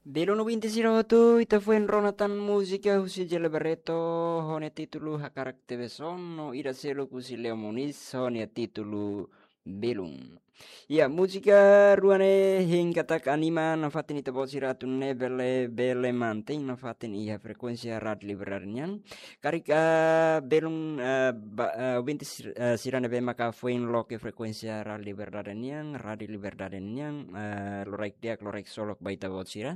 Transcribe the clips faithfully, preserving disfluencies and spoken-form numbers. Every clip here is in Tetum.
Belun ouvinte sira hotu, ita foin rona tan múzika husi Jele Barreto, ho nia títulu Hakarak Tebes Ono, no ida seluk husi Leo Moniz, ho nia títulu Belun. Ya, múzika rua ne'e hein katak anima nafatin ita-boot sira atu nune'e bele, bele mantein nafatin iha frekuénsia Rádiu Liberdade nian. Karik, ah, belun, ah, ba, ah, ouvinte sir-, ah, sira ne'ebé maka foin loke frekuénsia Rádiu Liberdade nian, Rádiu Liberdade nian, ah, loraik di'ak, loraik solok ba ita-boot sira.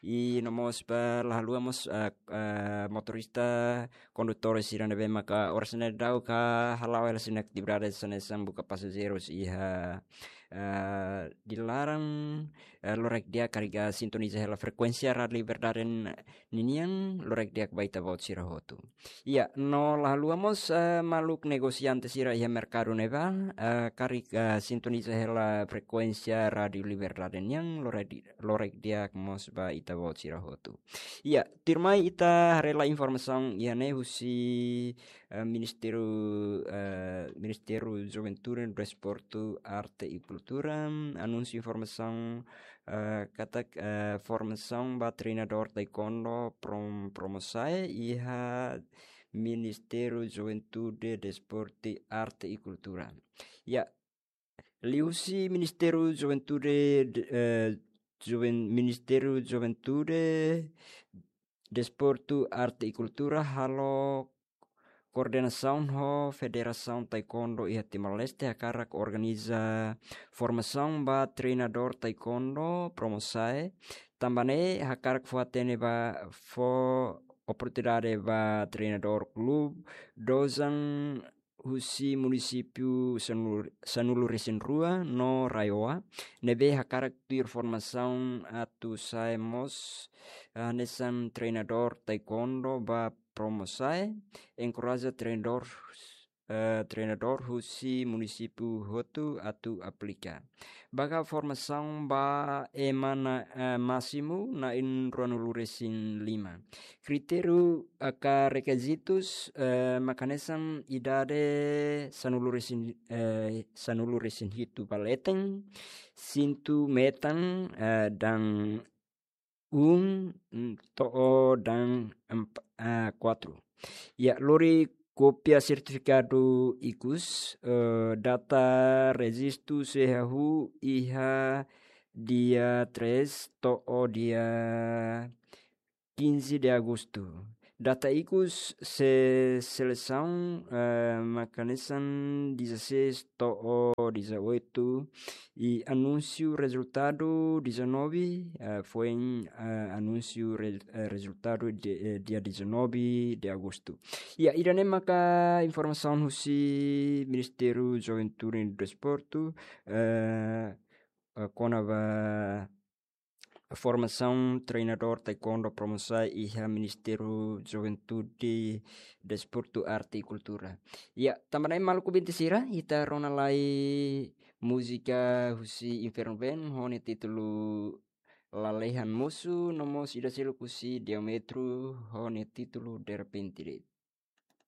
I no mós ba la haluha mós, ah, ah, motorista, kondutór sira ne'ebé maka oras ne'e daudaun hala'o hela sira-nia atividade hanesan buka pasajeirus iha, ah, di laran, ah, loraik di'ak karik sintoniza hela frekuénsia Rádiu Liberdade n-, ninian, loraik di'ak ba ita-boot sira hotu. Ya, no la haluha mós, ah, maluk negosiante sira iha merkadu ne'ebá, ah, karik, ah, sintoniza hela frekuénsia Rádiu Liberdade nian, loraik di-, loraik di'ak mós ba ita-boot sira hotu. Ya, tuirmai ita haree lai informasaun iha ne'e husi, eh, Ministériu, eh, Ministériu Juventude, Desportu, Arte i Kultura, anúnsiu informasaun, eh, katak, eh, formasaun ba treinadór taekwondo prom-, Promosae iha Ministériu Juventude, Desportu, Arte i Kultura. Ya, liuhusi Ministériu Juventude, de-, eh, Juven-, Ministériu Juventude, Desportu, Arte i Kultura halo koordenasaun ho Federasaun Taekwondo iha Timor-Leste hakarak organiza formasaun ba treinadór taekwondo Promosae. Tanba ne'e hakarak fó-hatene ba, fó oportunidade ba treinadór klube dozan husi munisípiu sanulu-, sanulu-resin-rua no RAEOA, ne'ebé hakarak tuir formasaun atu sai mós, ah, hanesan treinadór taekwondo ba Promosae, enkoraja treinadór, eh, treinadór husi munisípiu hotu atu aplika. Baga formasaun ba ema na'in, eh, másimu na'in ruanulu-resin-lima. Kritériu ka rekizitus, eh, maka hanesan idade sanulu-resin, eh, sanulu-resin-hitu ba leten, sintu metan, eh, dan um, mm, to'o dan emp-, ah, kuatru. Ya, lori kópia sertifikadu ikus, eh, data rejistu sei hahú iha dia três to'o dia quinze de agosto. Data ikus sei selesaun, eh, maka hanesan dezasseis to'o dezoito, i anúnsiu rezultadu dezanove, eh, foin, eh, anúnsiu re-, eh, rezultadu de, eh, dia dezanove de agosto. Ya, ida-ne'e maka informasaun husi Ministériu Juventude i Desportu, eh, eh, kona-ba formasaun treinadór taekwondo Promosae iha Ministériu Juventude, Desportu, Arte i Kultura. Ya, tanba ne'e maluk ouvinte sira, ita rona lai múzika husi Inferno Band, ho nia títulu Lalehan Mosu, no mós ida seluk husi Diámetro, ho nia títulu Derrepente.